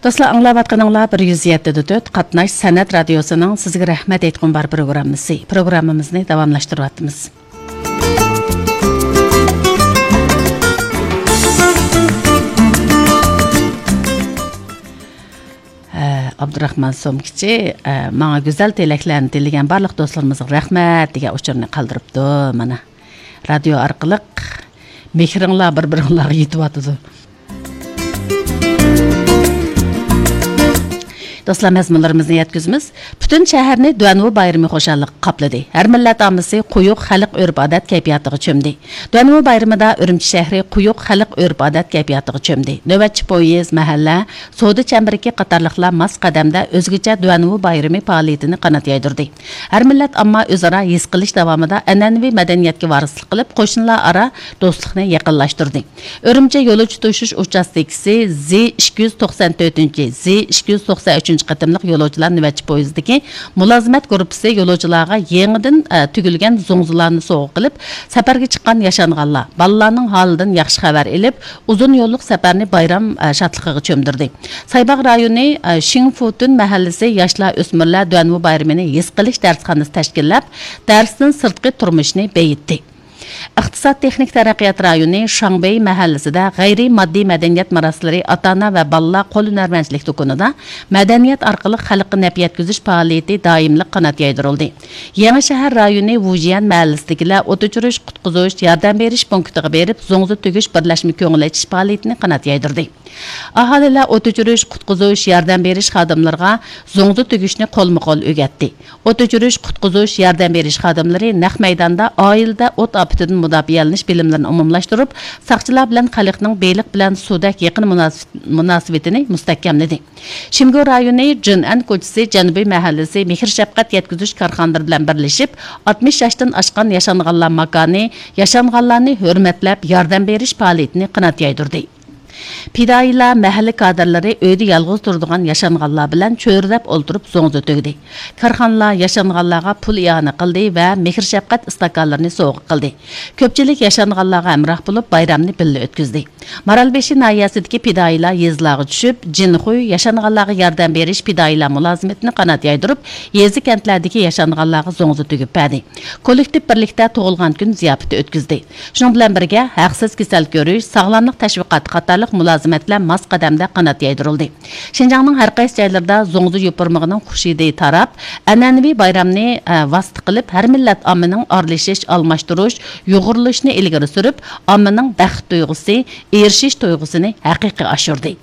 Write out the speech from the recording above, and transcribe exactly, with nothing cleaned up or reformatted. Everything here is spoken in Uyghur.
دوستلار، ئاڭلاۋاتقىنىڭلار بىر يۈز يەتتە دە تۆت قاتناش سەنئەت رادىيوسىنىڭ سىزگە رەھمەت ئېيتقۇم بار پروگراممىسى. پروگراممىمىزنى داۋاملاشتۇرۇۋاتىمىز. ئابدۇراخمان سومكىچى، ئە، ماڭا گۈزەل تىلەكلەرنى تىلىگەن بارلىق دوستلىرىمىزغا رەھمەت دېگەن ئۇچۇرنى قالدۇرۇپتۇ. مانا، رادىيو ئارقىلىق مېھرىڭلار بىر-بىرىڭلارغا يېتىۋاتىدۇ. دوستلار، مەزمۇنلىرىمىزنى يەتكۈزىمىز. پۈتۈن شەھەرنى دۇەنۋۇ بايرىمى خۇشاللىقى قاپلىدى. ھەر مىللەت ئاممىسى قويۇق خەلق ئۆرپ-ئادەت كەيپىياتىغا چۆمدى. دۇەنۋۇ بايرىمىدا ئۈرۈمچى شەھىرى قويۇق خەلق ئۆرپ-ئادەت كەيپىياتىغا چۆمدى. نۆۋەتچى پويىز، مەھەللە، سودا چەمبىرىكى قاتارلىقلار ماس قەدەمدە ئۆزگىچە دۇەنۋۇ بايرىمى پائالىيىتىنى قانات يايدۇردى. ھەر مىللەت ئامما ئۆزئارا ھېس قىلىش داۋامىدا ئەنئەنىۋى مەدەنىيەتكە ۋارىسلىق قىلىپ، قوشنىلار ئارا دوستلۇقنى يېقىنلاشتۇردى. ئۈرۈمچى يولۇچى توشۇش ئۇچاستكىسى زى ئىككى يۈز توقسان تۆتىنچى، زى ئىككى يۈز توقسان ئۈچىنچى قېتىملىق يولۇچىلار نۆۋەتچى پويىزىدىكى مۇلازىمەت گۇرۇپپىسى يولۇچىلارغا يېڭىدىن، ئە، تۈگۈلگەن زوڭزىلارنى سوۋغا قىلىپ، سەپەرگە چىققان ياشانغانلار، بالىلارنىڭ ھالىدىن ياخشى خەۋەر ئېلىپ، ئۇزۇن يوللۇق سەپەرنى بايرام، ئە، شادلىقىغا چۆمدۈردى. سايباغ رايونى، ئە، شىڭفۇتۈن مەھەللىسى ياشلار ئۆسمۈرلەر دۇەنۋۇ بايرىمىنى ھېس قىلىش دەرسخانىسى تەشكىللەپ، دەرستىن سىرتقى تۇرمۇشنى بېيىتتى. ئىقتىساد تېخنىك تەرەققىيات رايونى شاڭبېي مەھەللىسىدە غەيرىي ماددىي مەدەنىيەت مۇراسلىرى ئاتا-ئانا ۋە بالىلار قول ھۈنەرۋەنچىلىك دۇكىنىدا مەدەنىيەت ئارقىلىق خەلققە نەپ يەتكۈزۈش پائالىيىتى دائىملىق قانات يايدۇرۇلدى. يېڭى شەھەر رايونى ۋۇجيەن مەھەللىسىدىكىلەر ئوت ئۆچۈرۈش، قۇتقۇزۇش، ياردەم بېرىش پونكىتىغا بېرىپ، زوڭزا تۈگۈش بىرلەشمە كۆڭۈل ئېچىش پائالىيىتىنى قانات يايدۇردى. ئاھالىلەر ئوت ئۆچۈرۈش، قۇتقۇزۇش، ياردەم بېرىش خادىملىرىغا زوڭزا تۈگۈشنى قولمۇ قول ئۆگەتتى. ئوت ئۆچۈرۈش، قۇتقۇزۇش، ياردەم بېرىش خادىملىرى نەق مەيداندا ئائىلىدە ئوت ئاپىتىدىن مۇداپىئەلىنىش بىلىملىرىنى ئومۇملاشتۇرۇپ، ساقچىلار بىلەن خەلقنىڭ بېلىق بىلەن سۇدەك يېقىن مۇناسىپ-، مۇناسىۋىتىنى مۇستەھكەملىدى. شىمگۇ رايونى جىنئەن كوچىسى جەنۇبىي مەھەللىسى مېھىر-شەپقەت يەتكۈزۈش كارخانىلىرى بىلەن بىرلىشىپ، ئاتمىش ياشتىن ئاشقان ياشانغانلار ماكانى ياشانغانلارنى ھۆرمەتلەپ ياردەم بېرىش پائالىيىتىنى قانات يايدۇردى. پىدائىيلار مەھەللە كادىرلىرى ئۆيدە يالغۇز تۇرىدىغان ياشانغانلار بىلەن چۆرىدەپ ئولتۇرۇپ زوڭزا تۈگدى. كارخانىلار ياشانغانلارغا پۇل ئىئانە قىلدى ۋە مېھىر-شەپقەت ئىستاكانلىرىنى سوۋغا قىلدى. كۆپچىلىك ياشانغانلارغا ھەمراھ بولۇپ، بايرامنى بىللە ئۆتكۈزدى. مارالبېشى ناھىيەسىدىكى پىدائىيلار يېزىلارغا چۈشۈپ، جىنخۇي ياشانغانلارغا ياردەم بېرىش پىدائىيلار مۇلازىمىتىنى قانات يايدۇرۇپ، يېزا-كەنتلەردىكى ياشانغانلارغا زوڭزا تۈگۈپ بەردى. كوللېكتىپ بىرلىكتە تۇغۇلغان كۈن زىياپىتى ئۆتكۈزدى. شۇنىڭ بىلەن بىرگە، ھەقسىز كېسەل كۆرۈش، ساغلاملىق تەشۋىقاتى قاتارلىق مۇلازىمەتلەر ماس قەدەمدە قانات يايدۇرۇلدى. شىنجاڭنىڭ ھەر قايسى جايلىرىدا زوڭزا يوپۇرمىقىنىڭ خۇش ھىدى تاراپ، ئەنئەنىۋى بايرامنى، ئە، ۋاسىتە قىلىپ، ھەر مىللەت ئاممىنىڭ ئارىلىشىش، ئالماشتۇرۇش، يۇغۇرۇلۇشىنى ئىلگىرى سۈرۈپ، ئاممىنىڭ بەخت تۇيغۇسى، ئېرىشىش تۇيغۇسىنى ھەقىقىي ئاشۇردى.